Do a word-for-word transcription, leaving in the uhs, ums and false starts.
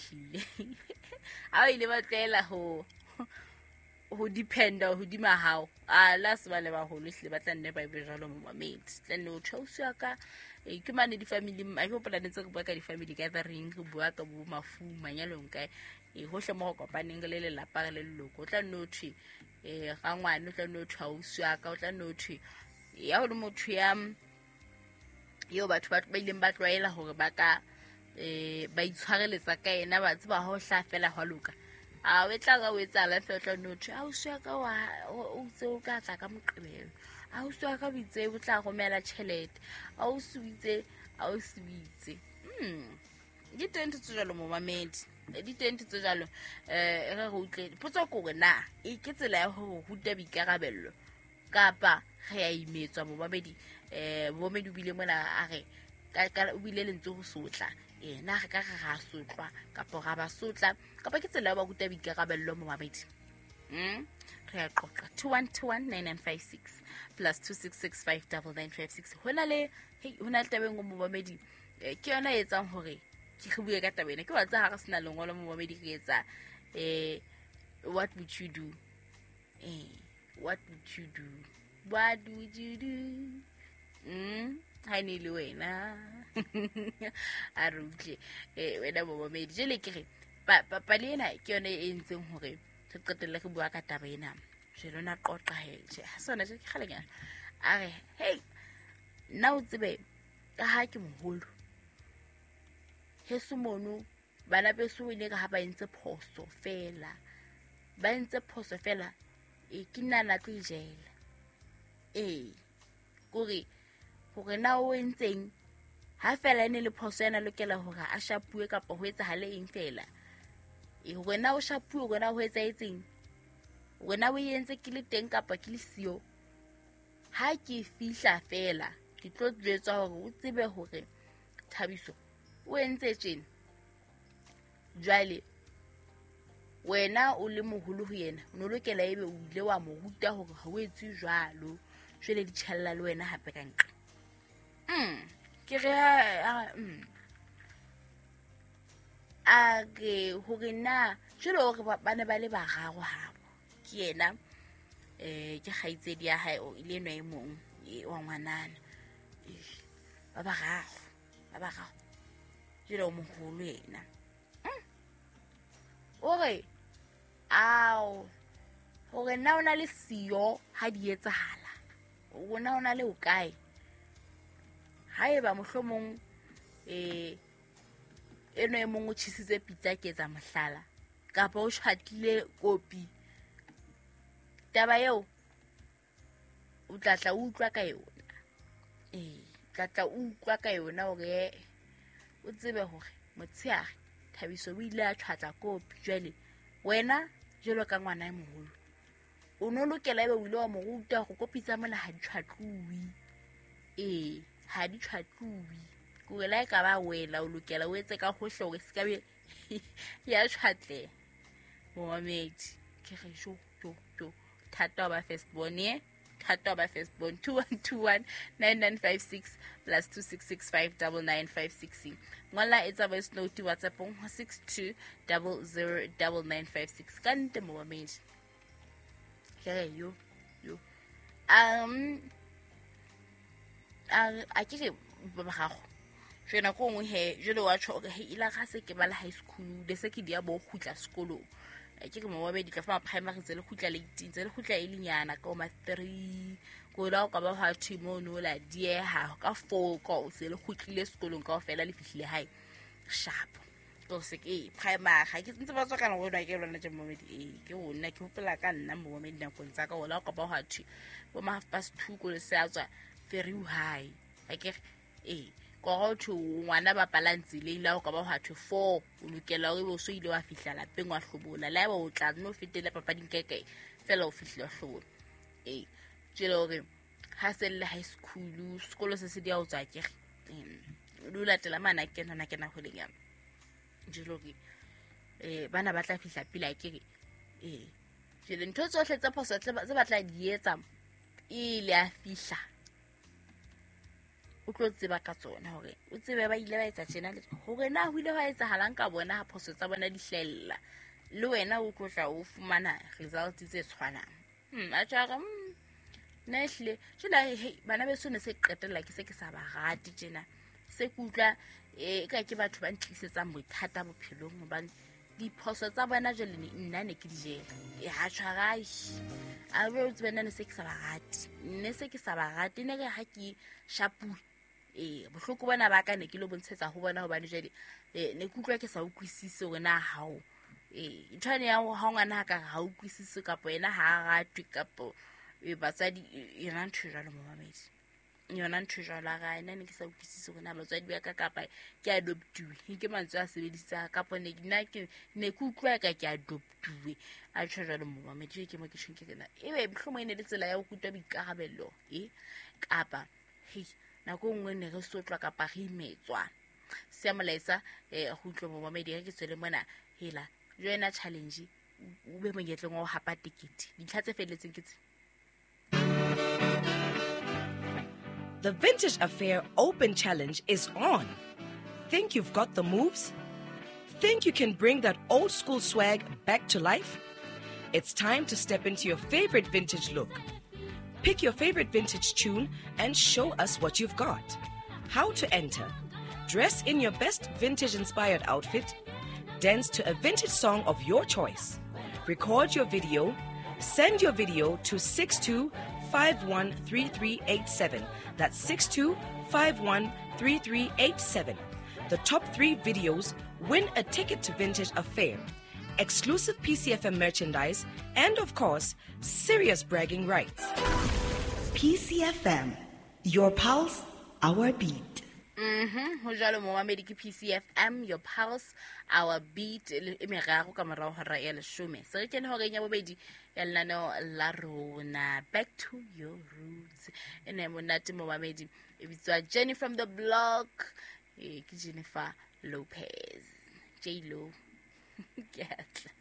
ehlile ha o ile ba tlwaela ho ho dependa hodima hao a la se ba le baholo ehlile ba tla nne ba ebe jwalo momamedi tla nne o tjhausi ya ka. E ke mane di-family a ke hopola ne ntse re bua ka di-family gathering, re bua ka bo mafu manyalong kae, e hohle mo go kopaneng re le lelapa re le leloko, o tla nne o thwe um rangwane, o tla nne o thwe ausi wa ka, o tla nne o thwe ya ho le motho ya eo batho ba ba ileng ba tlwaela hore ba ka um ba itshwareletsa ka yena, ba tseba ha o hlaha fela hwa loka. A o e tla ka o etsahala fela, o tla nne o thwe ausi wa ka o itse o ka tla ka Moqebelo, ausi wa ka o itse o tla romela tjhelete, ausi o itse, ausi o itse. Mm. Di teng ntho tse jwalo momamedi, di teng ntho tse jwalo. um re re utlwe potso ke hore na e ke tsela ya ho ruta boikarabello kapa re a imetswa momamedi. um momamedi o bile mona a re o bile lentswe ho sotla, ee na re ka re ra sotlwa kapa ra ba sotla kapa ke tsela ya ho ba ruta boikarabello momamedi. Mm re a qoqa two one two one nine nine five six plus two six six five double nine five six. Ho na le hei ho na le taba e nngwe momamedi, ke yona e etsang hore ke re bue ka taba ena. Ke wa tseba ha re sena lengolo momamedi re etsa eh what would you do, eh what would you do, what would you do. Mm ha ne le wena a re utlwe eh wena momamedi. Jwale ke re pale ena ke yona e entseng hore re qetelle re bua ka taba ena. Jwale ona qoqa he tjhe ha sona tje ke kgalenyana a re hey nna o tsebe ka ha ke moholo heso mono bana beso o ile ka ha ba entse phoso fela, ba entse phoso fela e ke nna na tlo ijela. Ee kore hore na o entseng ha fela ene le phoso ena lokela hore a shapuwe kapa ho etsahale eng fela. E hore na o shapuwe, hore na ho etsahetseng, hore na o entse ke le teng kapa ke le siyo. Ha ke fihla fela ke tlo jwetswa hore o tsebe hore Thabiso o entse tjena. Jwale wena o le moholo ho yena, o no lokela ebe o ile wa mo ruta hore ha o etse jwalo. Jwale di tjhella le wena hape ka nqa. Mm ke re mm a ke hore na jwale hore ba ne ba le bararo habo ke yena eh ke kgaitsedi ya hae o ile enwa e mong wa ngwanana ba bararo ba bararo jwale o moholo yena. O re ao hore na o na le siyo ha di etsahala, o na o na le o kae haeba mohlomong eh eno e mong o tjhisitse pitsa ke etsa mohlala kapa o tjhatlile kopi, taba eo o tla tla utlwa ka yona. Ee tla tla utlwa ka yona hore o tsebe hore motshehare Thabiso o ile a tjhatla kopi. Jwale wena jwalo ka ngwana e moholo o no lokela ebe o ile wa mo ruta hore kopi tsa mona ha di tjhatluwe. Ee ha di tjhatluwe, kore la e ka ba wela o lokela o etse ka hohle hore se ka be ya tjhatleha. Momamedi ke re jo jo jo thata ba first born ye thata ba first born. Two one two one nine nine five six plus two six six five double nine five six. Ngola etsa voice note WhatsApp ho six two double zero double nine five six. Ka nte momamedi ke re yo yo um a a ke re ba gago jwale nako nngwe he jwale wa tjho hore he ila ga se ke ba le high school le se ke dia bo kgutla sekolong. Ke re momamedi tla fa primary tse le kgutla late tse le kgutla e lenyana ka ma three ko la o ka ba ha thwe mono la dieha ka four ka o se le kgutlile sekolong kaofela le fihlile hae sharp. Ko se ke primary ga ke ntse ba tswa kana go ke lona tje momamedi. Ee ke rona ke hopola ka nna momamedi nakong tsa ka ola o ka ba ha thwe bo ma half past two ko le se a tswa ferry high a ke ee ko go thwe ngwana ba palang tseleng la o ka ba ha thwe four o lokela hore o so ile wa fihla lapeng wa hlobola la eba o tla no fetele papading kae kae fela o fihlile wa hlobola. Ee jwale hore ha se le high school sekolo se se di a o tswa ke re o latela mana ke nna ke na ho leng jwale hore eh bana ba tla fihla pele a ke re ee jwale ntho tsohle tse phoso tse ba tla di etsa ile a fihla o tlo tseba ka tsona hore o tsebe ba ile ba etsa tjena le hore na ho ile hwa etsahalang ka bona ha phoso tsa bona di hlella le wena o tlo tla o fumana results tse tshwanang. Hmm a tjara nna ehlile jwale hey bana beso ne se qetella ke se ke sa ba rate tjena se ke utlwa e ka ke batho ba ntlisetsang bothata bophelong hobane diphoso tsa bona jwale nna ne ke di jela e ha tshwarai a be o tsebe nna ne se ke sa ba rate ne se ke sa ba rate ne re ha ke shapuwe e bohloko bona ba ka ne ke lo bontshetsa ho bona hobane jwale ne ke utlwa ke sa utlwisise hore na hao e nthwane ya ha ngwana ha ka ha utlwisise kapa yena ha a ratwe kapo e batswadi yona ntho jwalo momamedi yona ntho jwalo a ga ena ne ke sa utlwisise hore na batswadi ba ka kapa ke adoptuwe ke mantswe a sebedisang kapa ne nna ke ne ke utlwa ka ke adoptuwe a tjho jwalo momamedi ke mo ke tjhong ke rena ebe mohlomong e ne le tsela ya ho rutwa boikarabelo e kapa hei nako nngwe ne re sotlwa kapa re imetswa se molaetsa eh go utlwa momamedi ke tswele mona hela joina challenge o be monyetleng wa ho hapa tikete dintlha tse felletseng ke tse. The Vintage Affair Open Challenge is on. Think you've got the moves? Think you can bring that old school swag back to life? It's time to step into your favorite vintage look. Pick your favorite vintage tune and show us what you've got. How to enter? Dress in your best vintage-inspired outfit. Dance to a vintage song of your choice. Record your video. Send your video to six two five one three three eight seven. That's six two five one three three eight seven. The top three videos win a ticket to Vintage Affair, exclusive P C F M merchandise, and of course, serious bragging rights. P C F M, your pulse, our beat. Mhm ho jwalo momamedi ke P C F M, your pulse, our beat e meraro ka morao hora ya leshome. Se re kene horeng ya bobedi ya lenaneo la rona, Back to Your Roots. E ne monate momamedi e bitswa Jenny from the Block, e ke Jennifer Lopez, J Lo. Ke atla.